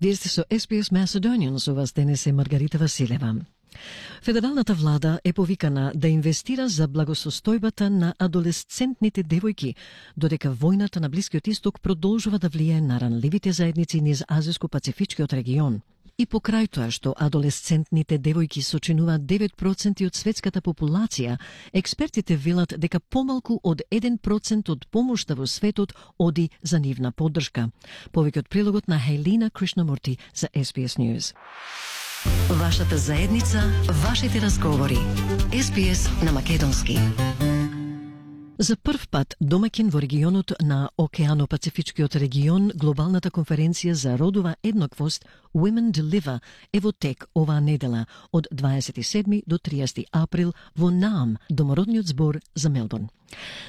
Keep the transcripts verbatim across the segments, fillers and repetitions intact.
Вие сте со Ес Би Ес Macedonian, со вас денес е Маргарита Василева. Федералната влада е повикана да инвестира за благосостојбата на адолесцентните девојки, додека војната на Блискиот Исток продолжува да влијае на ранливите заедници низ Азиско-Пацифичкиот регион. И покрај тоа што адолесцентните девојки сочинуваат девет проценти од светската популација, експертите велат дека помалку од еден процент од помошта во светот оди за нивна поддршка. Повеќе од прилогот на Хейлина Кришнамурти за Ес Би Ес News. Вашата заедница, вашите разговори. Ес Би Ес на македонски. За прв пат домаќин во регионот на Океано-Пацифичкиот регион, глобалната конференција за родова еднаквост Women Deliver е во тек оваа недела од дваесет и седми до триесети април во Наам, домородниот збор за Мелбурн.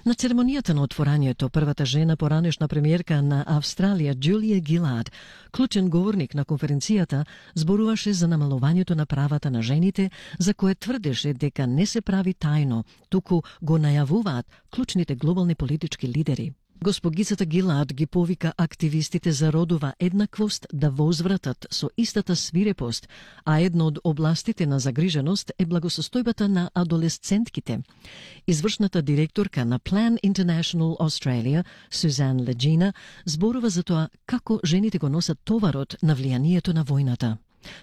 На церемонијата на отворањето, првата жена поранешна премиерка на Австралија, Джулија Гилард, клучен говорник на конференцијата, зборуваше за намалувањето на правата на жените, за кое тврдеше дека не се прави тајно, туку го најавуваат клучните глобални политички лидери. Госпогицата Гилард ги повика активистите за родова еднаквост да возвратат со истата свирепост, а една од областите на загриженост е благосостојбата на адолесцентките. Извршната директорка на Plan International Australia, Сузан Леджина, зборува за тоа како жените го носат товарот на влијанието на војната.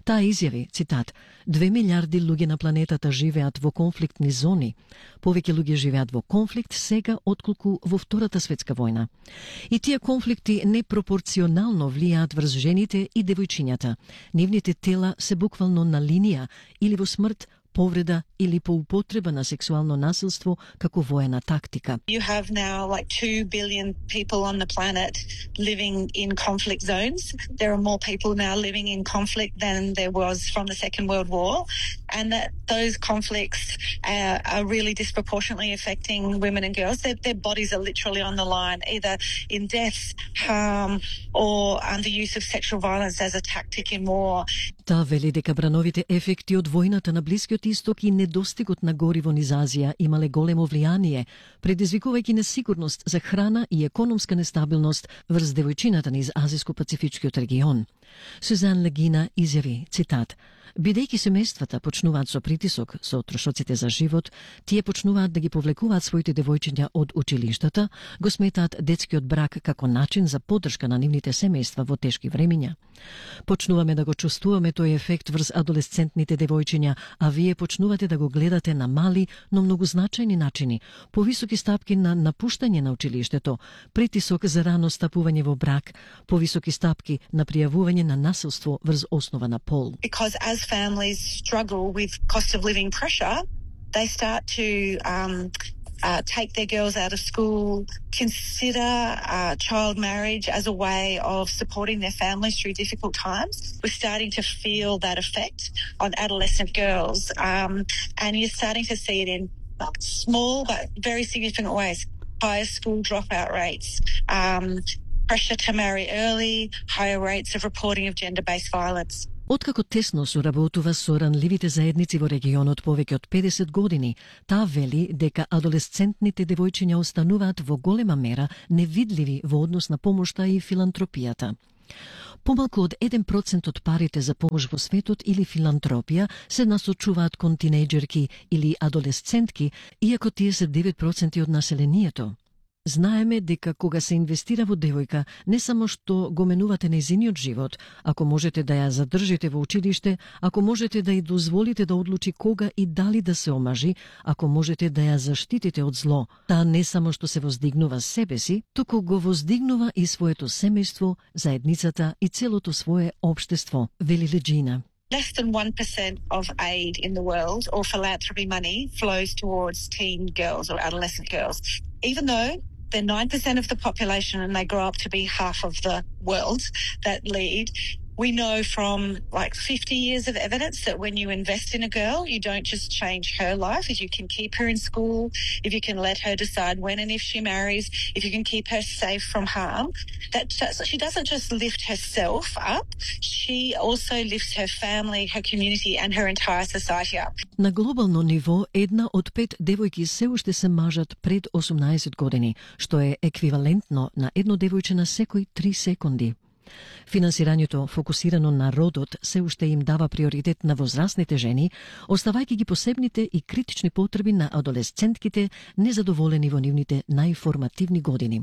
Таа изјави, цитат, две милиарди луѓе на планетата живеат во конфликтни зони. Повеќе луѓе живеат во конфликт сега отколку во Втората светска војна. И тие конфликти непропорционално влијаат врз жените и девојчињата. Нивните тела се буквално на линија или во смрт, повреда или по употреба на сексуално насилство како воена тактика. You have now like two billion people on the planet living in conflict zones. There are more people now living in conflict than there was from the Second World War, and that those conflicts uh, are really disproportionately affecting women and girls. Their, their bodies are literally on the line, either in death, harm, or under use of sexual violence as a tactic in war. Таа вели дека брановите ефекти од војната на Блискиот Исток и недостигот на гориво низ Азија имале големо влијание, предизвикувајќи несигурност за храна и економска нестабилност врз девојчината низ Азиско-Пацифичкиот регион. Сузан Легина изјави, цитат, бидејќи семејствата почнуваат со притисок со трошоците за живот, тие почнуваат да ги повлекуваат своите девојчиња од училиштата, го сметаат детскиот брак како начин за поддршка на нивните семејства во тешки времиња. Почнуваме да го чувствуваме тој ефект врз адолесцентните девојчиња, а вие почнувате да го гледате на мали, но многу значајни начини, повисоки стапки на напуштање на училиштето, притисок за рано стапување во брак, повисоки стапки на пријавување на насилство врз основа на пол. Because as families struggle with cost of living pressure, they start to um, uh, take their girls out of school, consider uh, child marriage as a way of supporting their families through difficult times. We're starting to feel that effect on adolescent girls, um, and you're starting to see it in small but very significant ways. Higher school dropout rates, um, pressure to marry early, higher rates of reporting of gender-based violence. Откако тесно соработува со ранливите заедници во регионот повеќе од педесет години, таа вели дека адолесцентните девојчиња остануваат во голема мера невидливи во однос на помошта и филантропијата. Помалку од еден процент од парите за помош во светот или филантропија се насочуваат кон тинејџерки или адолесцентки, иако тие се девет проценти од населението. Знаеме дека кога се инвестира во девојка, не само што го менувате нејзиниот живот, ако можете да ја задржите во училиште, ако можете да ја дозволите да одлучи кога и дали да се омажи, ако можете да ја заштитите од зло, таа не само што се воздигнува себе си, туку го воздигнува и своето семејство, заедницата и целото свое општество, вели Леджина. Less than one percent of aid in the world or philanthropy money flows towards teen girls or adolescent girls. Even though they're nine percent of the population and they grow up to be half of the world that lead, we know from like fifty years of evidence that when you invest in a girl, you don't just change her life. If you can keep her in school, if you can let her decide when and if she marries, if you can keep her safe from harm, that just, she doesn't just lift herself up, she also lifts her family, her community and her entire society up. На глобално ниво, една од пет девојки се уште се мажат пред осумнаесет години, што е еквивалентно на едно девојче на секој три секунди. Финансирањето фокусирано на родот се уште им дава приоритет на возрастните жени, оставајќи ги посебните и критични потреби на адолесцентките незадоволени во нивните најформативни години.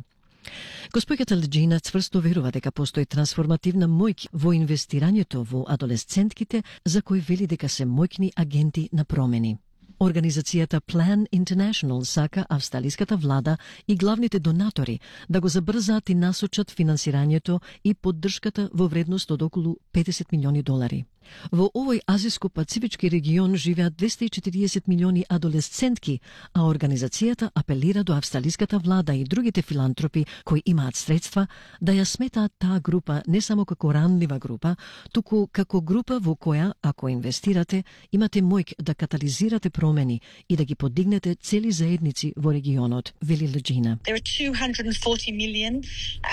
Госпоѓата Леджина цврсто верува дека постои трансформативна моќ во инвестирањето во адолесцентките, за кои вели дека се моќни агенти на промени. Организацијата Plan International сака австралиската влада и главните донатори да го забрзаат и насочат финансирањето и поддршката во вредност од околу петдесет милиони долари. Во овој азиско-пацифички регион живеат двесте и четириесет милиони адолесцентки, а организацијата апелира до австралиската влада и другите филантропи кои имаат средства да ја сметаат таа група не само како ранлива група, туку како група во која, ако инвестирате, имате моќ да катализирате промени и да ги подигнете цели заедници во регионот, вели Леджина. There are two hundred forty million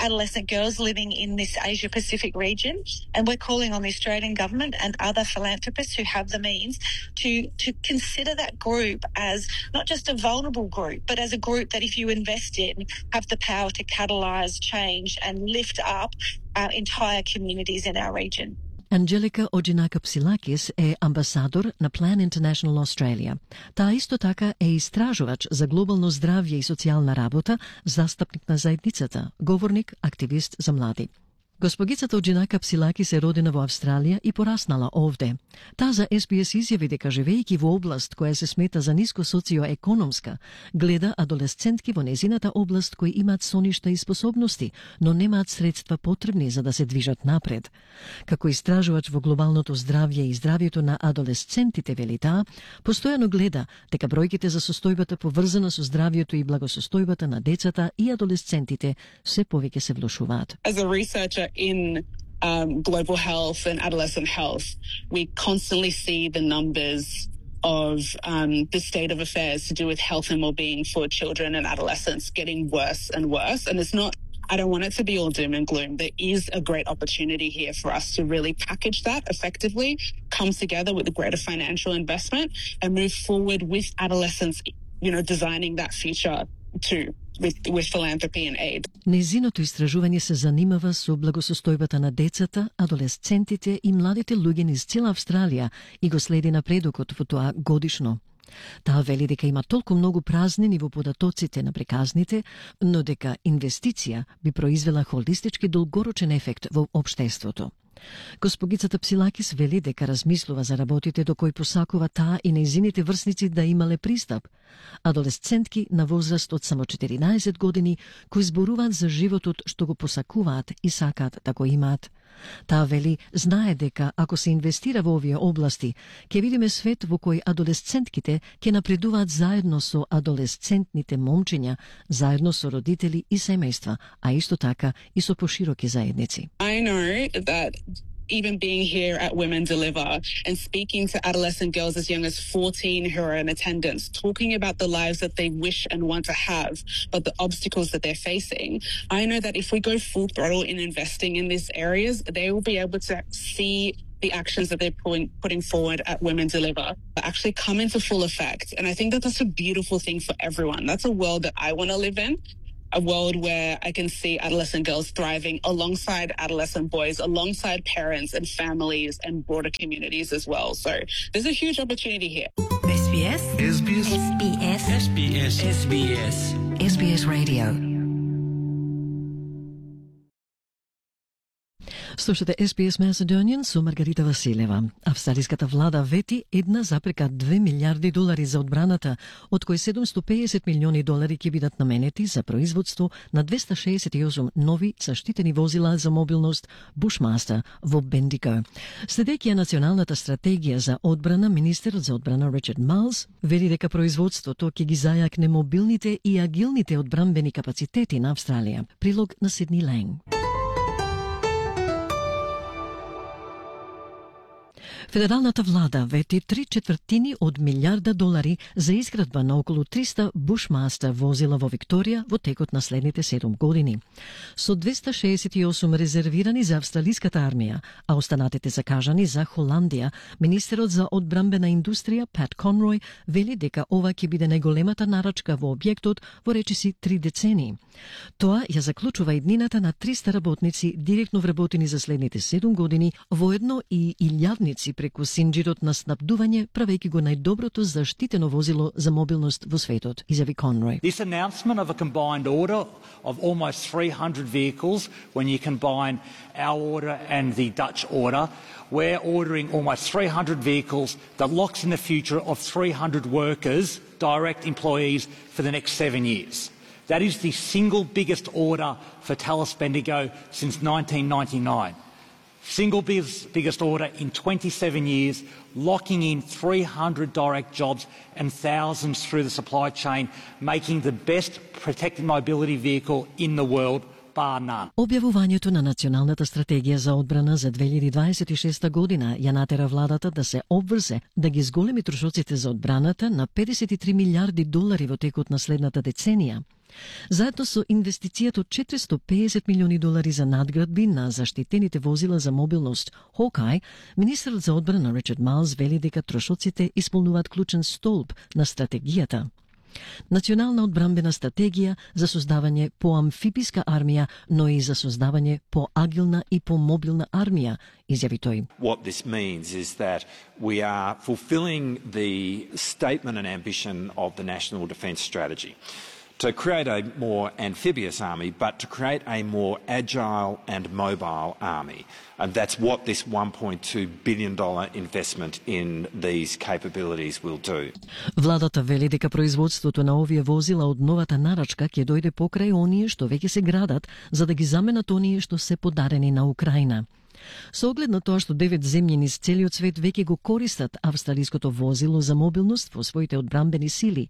adolescent girls living in this Asia-Pacific region, and we're calling on the Australian government and other philanthropists who have the means to to consider that group as not just a vulnerable group, but as a group that if you invest in, have the power to catalyse change and lift up our entire communities in our region. Анджелика Оджинака-Псилакис е амбасадор на Plan International Australia. Таа исто така е истражувач за глобално здравје и социјална работа, застапник на заедницата, говорник, активист за млади. Госпогицата Оджинака-Псилаки се родена во Австралија и пораснала овде. Таа за Ес Би Ес изјави дека живејќи во област која се смета за ниско социоекономска, гледа адолесцентки во незината област кои имаат соништа и способности, но немаат средства потребни за да се движат напред. Како истражувач во глобалното здравје и здравјето на адолесцентите, вели таа, постојано гледа дека бројките за состојбата поврзана со здравјето и благосостојбата на децата и адолесцентите се повеќе се влошуваат. As a researcher in um, global health and adolescent health, we constantly see the numbers of um, the state of affairs to do with health and well-being for children and adolescents getting worse and worse. And it's not, I don't want it to be all doom and gloom. There is a great opportunity here for us to really package that effectively, come together with a greater financial investment and move forward with adolescents, you know, designing that future too. With, with philanthropy and aid. Незиното истражување се занимава со благосостојбата на децата, адолесцентите и младите луѓе низ цела Австралија и го следи напредокот во тоа годишно. Таа вели дека има толку многу празнини во податоците на приказните, но дека инвестиција би произвела холистички долгорочен ефект во општеството. Госпогицата Псилакис вели дека размислува за работите до кои посакува таа и нејзините врсници да имале пристап. Адолесцентки на возраст од само четиринаесет години кои зборуваат за животот што го посакуваат и сакаат да го имаат. Таа вели знае дека ако се инвестира во овие области, ќе видиме свет во кој адолесцентките ќе напредуваат заедно со адолесцентните момчиња, заедно со родители и семејства, а исто така и со пошироки заедници. I know that even being here at Women Deliver and speaking to adolescent girls as young as fourteen who are in attendance, talking about the lives that they wish and want to have, but the obstacles that they're facing, I know that if we go full throttle in investing in these areas, they will be able to see the actions that they're putting, putting forward at Women Deliver actually come into full effect. And I think that that's a beautiful thing for everyone. That's a world that I want to live in. A world where I can see adolescent girls thriving alongside adolescent boys, alongside parents and families and broader communities as well. So there's a huge opportunity here. Ес Би Ес. Ес Би Ес. Ес Би Ес. Ес Би Ес. Ес Би Ес. Ес Би Ес Radio. Слушате Ес Би Ес Macedonian со Маргарита Василева. Австралиската влада вети една запрека две милиарди долари за одбраната, од кои седумстотини и педесет милиони долари ќе бидат наменети за производство на двеста шеесет и осум нови заштитени возила за мобилност Bushmaster во Бендиго. Следејќи ја националната стратегија за одбрана, министерот за одбрана Ричард Малс вели дека производството ќе ги зајакне мобилните и агилните одбранбени капацитети на Австралија. Прилог на Сидни Ланг. Федералната влада вети три четвртини од милиарда долари за изградба на околу триста Bushmaster возила во Викторија во текот на следните седум години. Со двеста шеесет и осум резервирани за австралиската армија, а останатите закажани за Холандија, министерот за одбрамбена индустрија Пат Конрој вели дека ова ќе биде најголемата нарачка во објектот во речиси три децении. Тоа ја заклучува иднината на триста работници директно вработени за следните седум години, воедно и илјадници преку синџирот на снабдување, правејќи го најдоброто заштитено возило за мобилност во светот, изјави Конрој. This announcement of a combined order of almost three hundred vehicles, when you combine our order and the Dutch order, we're ordering almost three hundred vehicles that locks in the future of three hundred workers, direct employees, for the next seven years. That is the single biggest order for Thales Bendigo since nineteen ninety-nine. Single biggest, biggest order in twenty-seven years, locking in three hundred direct jobs and thousands through the supply chain, making the best protected mobility vehicle in the world, bar none. Објавувањето на Националната стратегија за одбрана за две илјади дваесет и шеста година ја натера владата да се обврзе да ги зголеми трошоците за одбраната на педесет и три милиарди долари во текот на следната деценија. Заедно со инвестицијата од четиристо и педесет милиони долари за надградби на заштитените возила за мобилност Hawkeye, министерот за одбрана Ричард Майлс вели дека трошоците исполнуваат клучен столб на стратегијата. Национална одбрамбена стратегија за создавање по-амфибиска армија, но и за создавање по-агилна и по-мобилна армија, изјави тој. What this means is that we are fulfilling the statement and ambition of the National Defence Strategy to create a more amphibious army, but to create a more agile and mobile army. And that's what this one point two billion dollars investment in these capabilities will do. Владата вели дека производството на овие возила од новата нарачка ќе дојде покрај оние што веќе се градат, за да ги заменат оние што се подарени на Украина. Со оглед на тоа што девет земји низ целиот свет веќе го користат австралиското возило за мобилност во своите одбрамбени сили,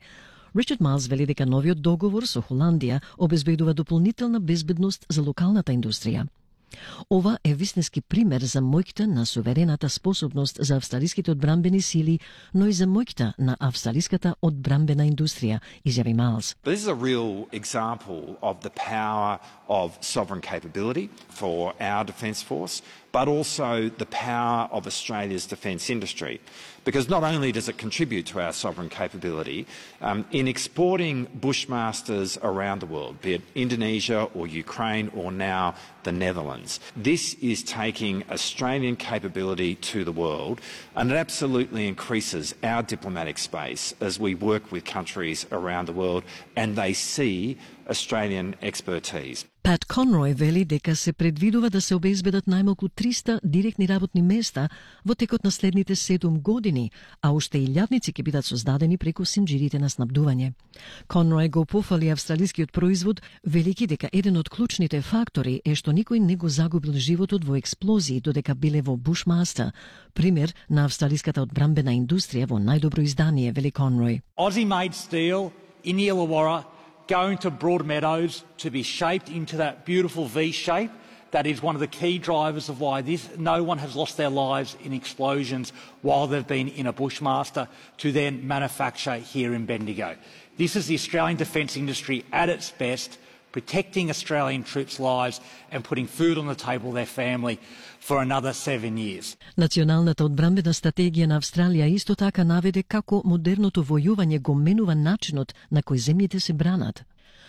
Ричард Майлс вели дека новиот договор со Холандија обезбедува дополнителна безбедност за локалната индустрија. Ова е вистински пример за моќта на суверената способност за австралиските одбрамбени сили, но и за моќта на австралиската одбрамбена индустрија, изјави Майлс. This is a real example of the power of sovereign capability for our defence force, but also the power of Australia's defence industry. Because not only does it contribute to our sovereign capability, um, in exporting Bushmasters around the world, be it Indonesia or Ukraine or now the Netherlands, this is taking Australian capability to the world, and it absolutely increases our diplomatic space as we work with countries around the world and they see Australian expertise. Пат Конрој вели дека се предвидува да се обезбедат најмалку триста директни работни места во текот на следните седум години, а уште илјадници ќе бидат создадени преку синџирите на снабдување. Конрој го пофали австралискиот производ, велики дека еден од клучните фактори е што никој не го загубил животот во експлозии додека биле во Bushmaster, пример на австралиската одбрамбена индустрија во најдобро издание, вели Конрој. Aussie-made steel in the Illawarra going to Broadmeadows to be shaped into that beautiful V shape. That is one of the key drivers of why this, no one has lost their lives in explosions while they've been in a Bushmaster to then manufacture here in Bendigo. This is the Australian defence industry at its best, protecting Australian troops' lives and putting food on the table of their family for another seven years. Националната одбрамбена стратегија на Австралија исто така наведе како модерното војување го менува начинот на кој земјите се бранат.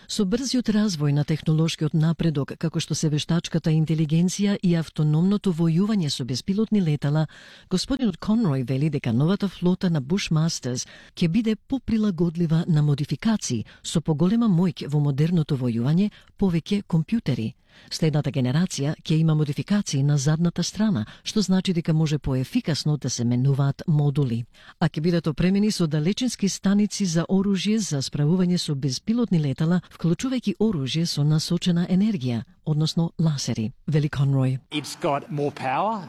Со брзиот развој на технолошкиот напредок, како што се вештачката интелигенција и автономното војување со беспилотни летала, господинот Конрој вели дека новата флота на Bushmasters ќе биде поприлагодлива на модификации, со поголема моќ во модерното војување, повеќе компјутери. Следната генерација ќе има модификации на задната страна, што значи дека може поефикасно да се менуваат модули. А ќе бидат опремени со далечински станици за оружје за справување со безпилотни летала, вклучувајќи оружје со насочена енергија, односно ласери, вели Конрој. It's got more power.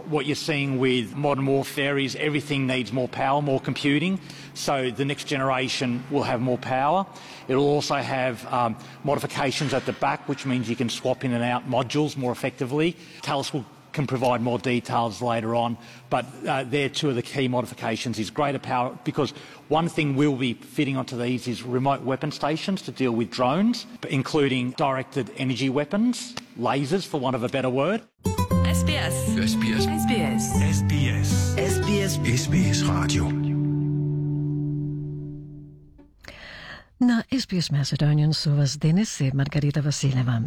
What you're seeing with modern warfare is everything needs more power, more computing. So the next generation will have more power. It will also have um, modifications at the back, which means you can swap in and out modules more effectively. Thales will can provide more details later on, but uh, they're two of the key modifications is greater power, because one thing we'll be fitting onto these is remote weapon stations to deal with drones, including directed energy weapons, lasers for want of a better word. S B S. S B S. S B S. S B S. S B S. S B S Radio. На Ес Би Ес Macedonian со вас денес е Маргарита Василева.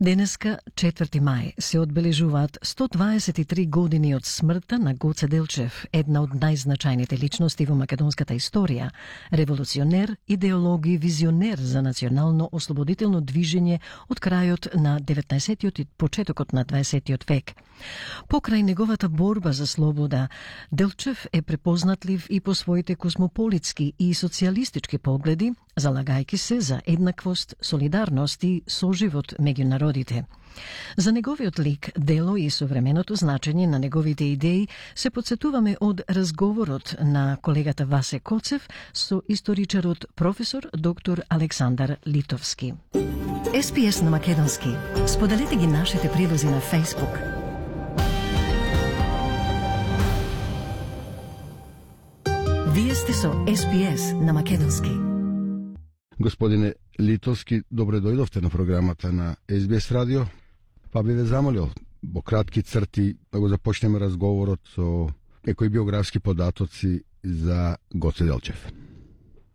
Денеска, четврти мај, се одбележуваат сто дваесет и три години од смртта на Гоце Делчев, една од најзначајните личности во македонската историја, револуционер, идеолог и визионер за национално ослободително движење од крајот на деветнаесеттиот и почетокот на дваесеттиот век. Покрај неговата борба за слобода, Делчев е препознатлив и по своите космополитски и социјалистички погледи, залагајќи се за еднаквост, солидарност и соживот меѓу народите. За неговиот лик, дело и современото значење на неговите идеи се подсетуваме од разговорот на колегата Васе Коцев со историчарот професор доктор Александар Литовски. Ес Би Ес на македонски. Споделете ги нашите прилози на Facebook. Вие сте со Ес Би Ес на македонски. Господине Литовски, добре дојдовте на програмата на Ес Би Ес радио. Па би ве замолил во кратки црти да го започнеме разговорот со некои биографски податоци за Гоце Делчев.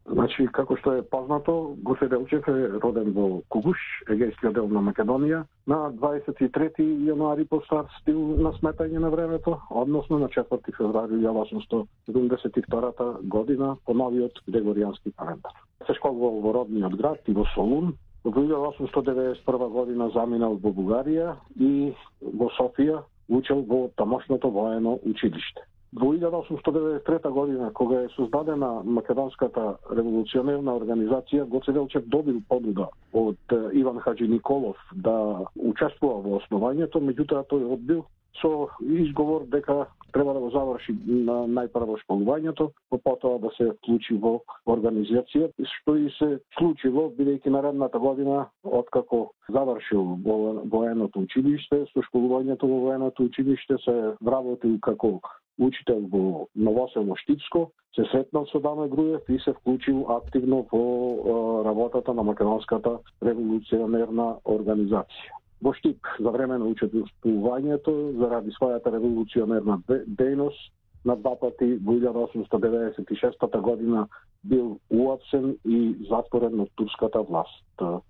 Значи, како што е познато, Гоце Делчев е роден во Кугуш, егејскиот дел на Македонија, на дваесет и трети јануари по стар стил на сметање на времето, односно на четврти февруари илјадесетстотини седумдесет и втора година по новиот Грегоријански календар. Се школувал во родниот град и во Солун. Во илјадесетстотини деветдесет и прва година заминал во Бугарија и во Софија учел во тамошното воено училиште. Во илјадесетстотини деветдесет и трета година, кога е создадена Македонската револуционерна организација, Гоце Делчев добил понуда од Иван Хаџи Николов да учествува во основањето, меѓутоа тој одбил со изговор дека треба да го заврши на најпрво школувањето, потоа да се вклучи во организација, што и се случило, бидејќи наредната година, откако завршил во военото училиште, со школувањето во военото училиште се вработил како учител во Новосело Штипско, се сретнал со Даме Груев и се вклучил активно во работата на Македонската револуционерна организација. Во Штип за време на учествувањето заради својата револуционерна дејност на два пати во илјадесетстотини деветдесет и шеста година бил уапсен и затворен од турската власт.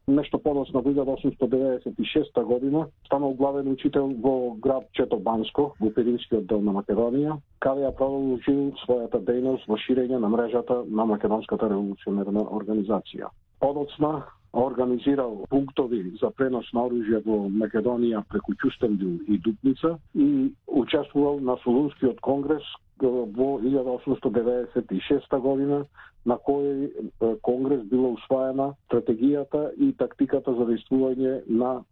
Нешто подоцна во илјадесетстотини деветдесет и шеста година станал главен учител во град Четобанско, во Пиринскиот дел на Македонија, каде ја продолжил својата дејност во ширење на мрежата на Македонската револуционерна организација. Подоцна организирал пунктови за пренос на оружје во Македонија преку Ќустендил и Дупница и учествувал на Солунскиот конгрес во илјадесетстотини деветдесет и шеста година, на кој конгрес била усвоена стратегијата и тактиката за действување на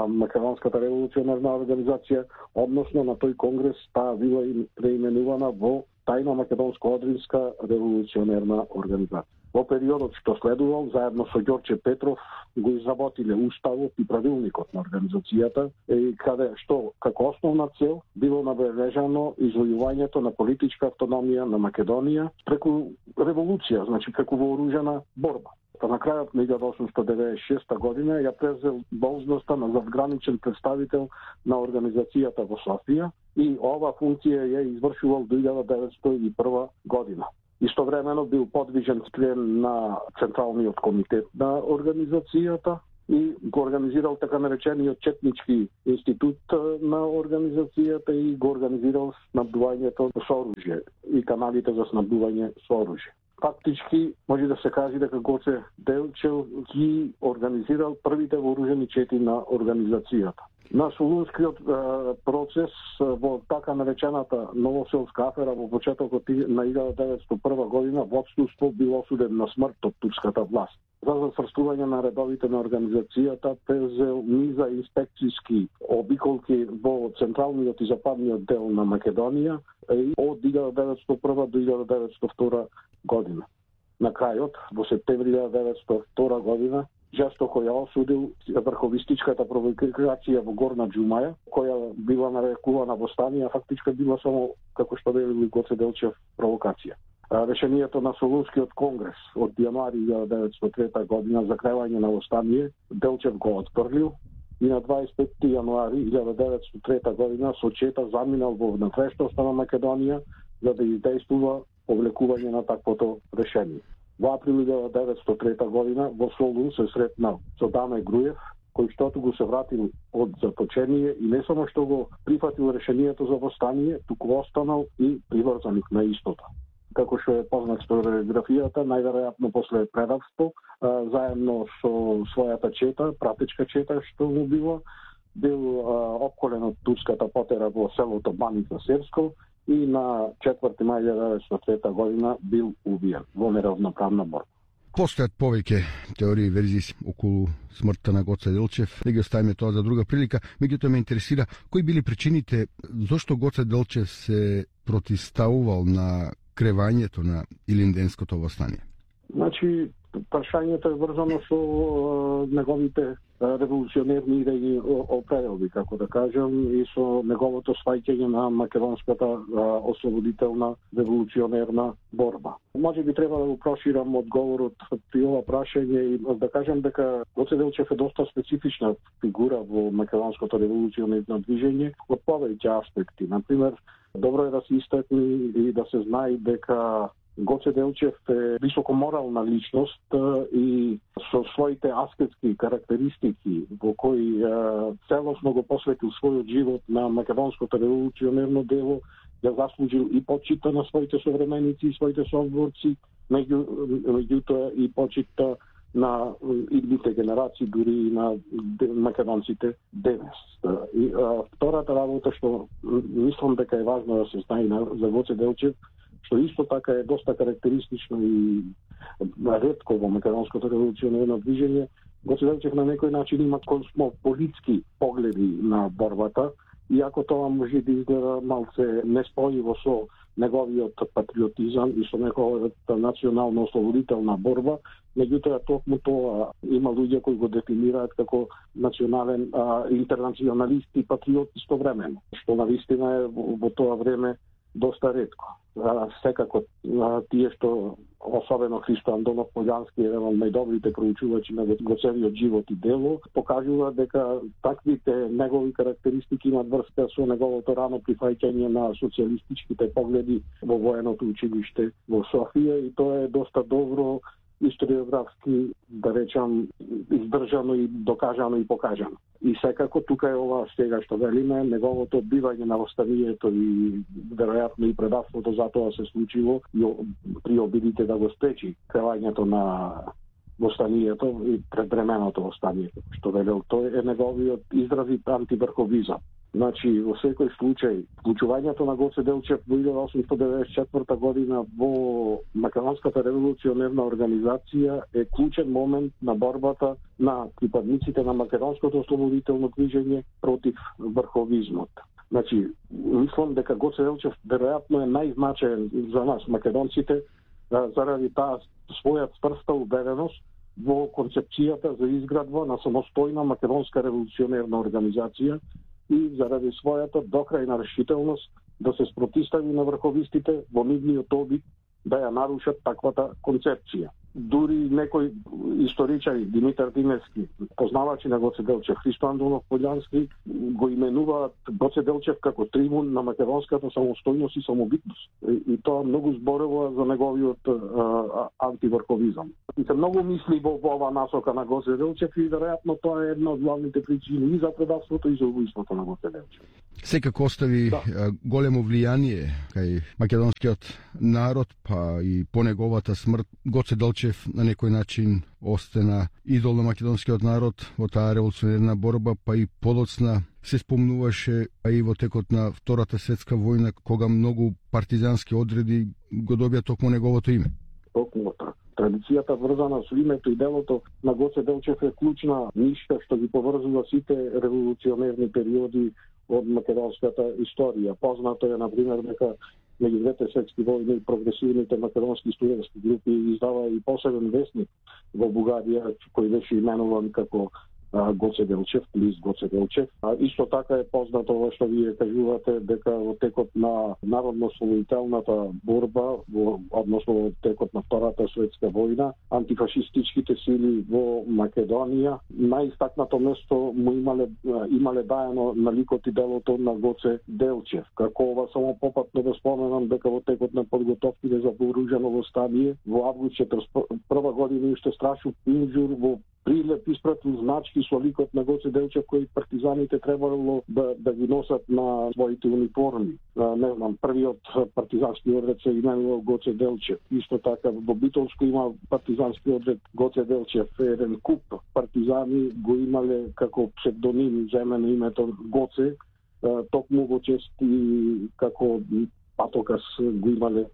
Македонската револуционерна организација, односно на тој конгрес таа била преименувана во Тајна македонско-одринска револуционерна организација. Во периодот што следувал, заедно со Ѓорче Петров, го изработиле уставот и правилникот на организацијата, и каде што како основна цел било набележано извојувањето на политичка автономија на Македонија преку револуција, значи преку вооружена борба. Па на крајот на илјадесетстотини деветдесет и шеста година ја презел должноста на задграничен представител на организацијата во Софија и ова функција ја извршувал до илјада деветстотини и прва година. Истовремено бил подвижен член на Централниот комитет на организацијата и го организирал така наречениот Четнички институт на организацијата и го организирал снабдувањето со оружје и каналите за снабдување со оружје. Фактички може да се каже дека Гоце Делчев ги организирал првите вооружени чети на организацијата. На Солунскиот процес во така наречената Новоселска афера во почетокот на илјада деветстотини и прва година водството било осуден на смрт од турската власт. За затврстување на редовите на организацијата презел низа инспекцијски обиколки во централниот и западниот дел на Македонија од илјада деветстотини и прва до илјада деветстотини и втора година. На крајот, во септември илјада деветстотини и втора година, жестоко ја осудил врховистичката провокација во Горна Џумаја, која била нарекувана восстание, а фактичка била само, како што велил Гоце Делчев, провокација. Решението на Солунскиот конгрес од јануари илјада деветстотини и трета година за крајување на восстание, Делчев го отфрлил и на дваесет и петти јануари илјада деветстотини и трета година со чета заминал во внатрешноста на Македонија за да издействува повлекување на таквото решение. Во април илјада деветстотини и трета година во Солун се сретнал со Даме Груев, кој штото го се вратил од заточение и не само што го прифатил решението за восстание, туку останал и приврзаник на истото. Како што е познат историографијата, најверојатно после предавство, заедно со својата чета, пратечка чета што му било, бил опколен од турската потера во селото Баник на Серско и на четврти мај илјада деветстотини и трета година бил убиен во неравноправна борба. Постојат повеќе теории и верзии околу смртта на Гоце Делчев. Не ги оставиме тоа за друга прилика. Меѓутоа ме интересира кои били причините зошто Гоце Делчев се протиставувал на кревањето на Илинденското восстание. Значи, прашањето е врзано со е, неговите револуционерни идеи определби, како да кажам, и со неговото сваќање на македонската е, ослободителна револуционерна борба. Може би треба да го проширам одговорот при ова прашање и да кажам дека Гоце Делчев е доста специфична фигура во македонското револуционерно движење од повеќе аспекти. Например, добро е да се истакне и да се знае дека Гоце Делчев е високоморална личност и со своите аскетски карактеристики во кои целосно го посветил својот живот на македонското револуционерно дело, ја заслужил и почита на своите современици и своите соборци, меѓу, меѓутоа и почита на идните генерации, дури и на македонците денес. И а, втората работа што мислам дека е важно да се знае за Гоце Делчев, што исто така е доста карактеристично и ретко во македонското револуционерно движење, Гоце Делчев на некој начин има космополитски погледи на борбата, иако тоа може да изгледа малце неспојиво со неговиот патриотизам и со неговата национално-ослободителна борба, меѓутоа токму тоа има луѓе кои го дефинираат како национален а, интернационалист и патриот истовремено, што навистина е во, во тоа време доста ретко. А, секако а, тие што особено Христо Андонов Полјански, еден од најдобрите проучувачи на Гоцевиот живот и дело, покажува дека таквите негови карактеристики имаат врска со неговото рано прифаќање на социјалистичките погледи во военото училиште во Софија и тоа е доста добро историографски, да речам, издржано и докажано и покажано. И секако тука е ова сега што велиме, неговото одбивање на восстанието и веројатно и предавството за тоа се случило и при обидите да го спречи кревањето на восстанието и предвременото восстание, што велел тој е неговиот изразит антиврховизам. Значи, во секој случај, вклучувањето на Гоце Делчев во илјада осумстотини деветдесет и четврта година во Македонската револуционерна организација е клучен момент на борбата на припадниците на македонското ослободително движење против врховизмот. Значи, мислам дека Гоце Делчев веројатно е најзначаен за нас, македонците, заради таа своја цврста убеденост во концепцијата за изградба на самостојна македонска револуционерна организација и заради својата докрајна решителност да се спротистави на врховистите во нивниот обид да ја нарушат таквата концепција. Дури некои историчари, Димитар Димевски, познавачи на Гоце Делчев, Христо Андонов Полјански, го именуваат Гоце Делчев како трибун на македонската самостојност и самобитност. И, и тоа многу зборува за неговиот а, антиврховизам. И се многу мисли во ова насока на Гоце Делчев и веројатно тоа е една од главните причини и за предавството и за убиството на Гоце Делчев. Секако остави да. големо влијание кај македонскиот народ, па и по неговата смрт Гоце Делчев на некој начин остана идол на македонскиот народ во таа револуционерна борба, па и подоцна се спомнуваше а и во текот на Втората светска војна, кога многу партизански одреди го добија токму неговото име. Токму така. Традицијата врзана со името и делото на Гоце Делчев е клучна нишка што ги поврзува сите револуционерни периоди од македонската историја. Познато е, например, дека меѓу двете светски војни прогресивните македонски студентски групи издава и посебен весник во Бугарија кој беше именуван како Гоце Делчев, лист Гоце Делчев. А исто така е познато ова што вие кажувате дека во текот на народно-ослободителната борба, во, односно во текот на Втората светска војна, антифашистичките сили во Македонија најистакнато место му имале имале даено на ликот и делото на Гоце Делчев. Како ова само попатно да споменам дека во текот на подготовките за вооружено восстание во август четиридесет и прва година уште Страшо Пинџур во прилеп испратил значки со ликот на Гоце Делчев кои партизаните требало да, да ги носат на своите униформи. А, не знам, првиот партизански одред се именувал Гоце Делчев. Исто така во Битолско има партизански одред Гоце Делчев. Еден куп партизани го имале како псевдоним земено името Гоце, а, токму во чест и како патокас го имале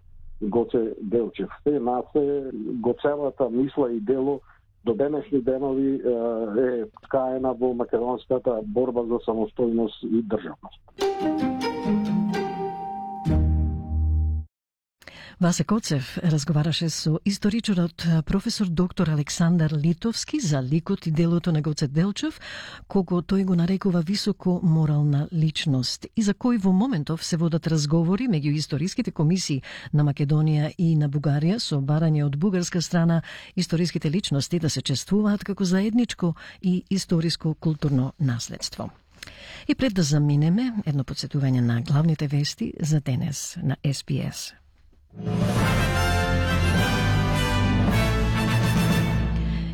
Гоце Делчев. Те насе го целата мисла и дело до денешни денови е ткаена во македонската борба за самостојност и државност. Васе Коцев разговараше со историчарот професор доктор Александар Литовски за ликот и делото на Гоце Делчев, кого тој го нарекува високо морална личност и за кој во моментов се водат разговори меѓу историските комисии на Македонија и на Бугарија со барање од бугарска страна историските личности да се чествуваат како заедничко и историско културно наследство. И пред да заминеме, едно подсетување на главните вести за денес на Ес Би Ес.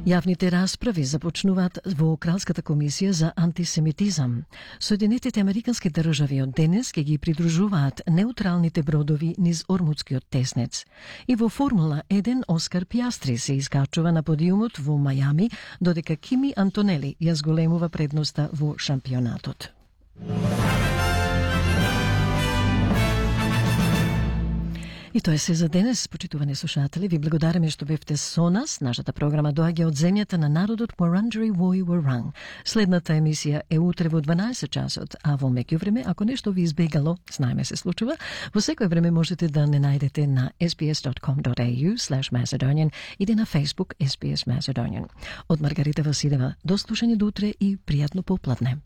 Јавните расправи започнуваат во Кралската комисија за антисемитизам. Соединетите американски држави од денес ќе ги придружуваат неутралните бродови низ Ормудскиот теснец. И во Формула еден Оскар Пиастри се искачува на подиумот во Мајами, додека Кими Антонели ја зголемува предноста во шампионатот. И тоа е се за денес, почитувани слушатели. Ви благодариме што бевте со нас. Нашата програма доаѓа од земјата на народот Wurundjeri Woi Wurrung. Следната емисија е утре во дванаесет часот, а во меѓувреме, ако нешто ви избегало, знаеме се случува, во секој време можете да не најдете на ес би ес точка ком точка ей ю слеш Macedonian или на Facebook Ес Би Ес Macedonian. Од Маргарита Василева, до слушање до утре и пријатно попладне.